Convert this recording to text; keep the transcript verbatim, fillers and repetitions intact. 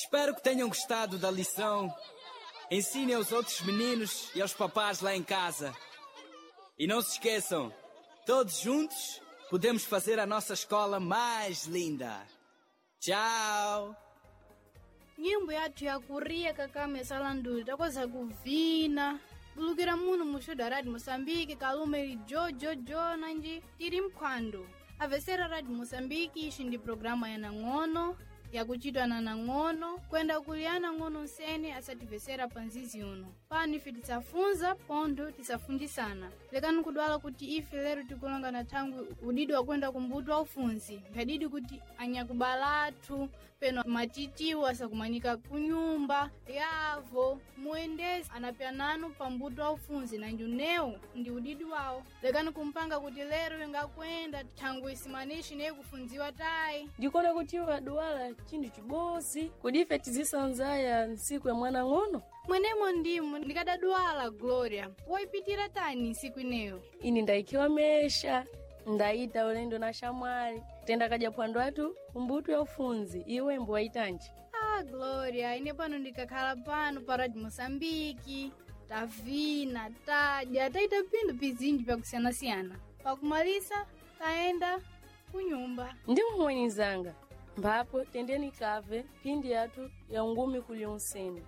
Espero que tenham gostado da lição. Ensinem aos outros meninos e aos papás lá em casa. E não se esqueçam, todos juntos podemos fazer a nossa escola mais linda. Tchau! Nyimbo yathu yakuria kakame salanduli takoza kuvina bulukira muno muxuda Rádio Moçambique, kalume li jojojo nanji tiri mphwando avesera Rádio Moçambique. Ixi ndi programa ya nang'ono yakuchitwa na nang'ono kwenda kuliana ng'ono nsene asativesera pa nzizi uno. Pano ife tisafunza pontho tisafunjisana. Lekani kudwala kuti ife lero tikulonga na thangwi udidi wakwenda kumbuto wa ufunzi mphadidi kuti anyakubala athu peno matitiwo asakumanika kunyumba yavo muendesi anapyananu pambuto wa ufunzi na njunewu ndi udidi wawo. Lekani kumpanga kuti lero ingakwenda thangwi isimanishi neye kufunziwa tayi. Ndikona kuti waduwala chinthu chibozi kodi ife tizisanzaya ntsiku ya mwana ng'ono. Mwenemo ndimo ndikadadwala Gloria, woipitira tani ntsiku ineyo? Ini ndaikiwa mesha, ndayita ulendo na xamwali tenda kadya phwando athu kumbuto ya ufunzi. Iwe mbuwayitanji? Ah, Gloria, ine pano ndikakhala pano pa Radio Moçambique, tavina, tadya, taita phindu pizinji pyakusiyanasiyana. Pakumalisa tayenda kunyumba. Ndi mwenizanga mphapo tendeni kave phindi yathu ya ngumi kuli unsene.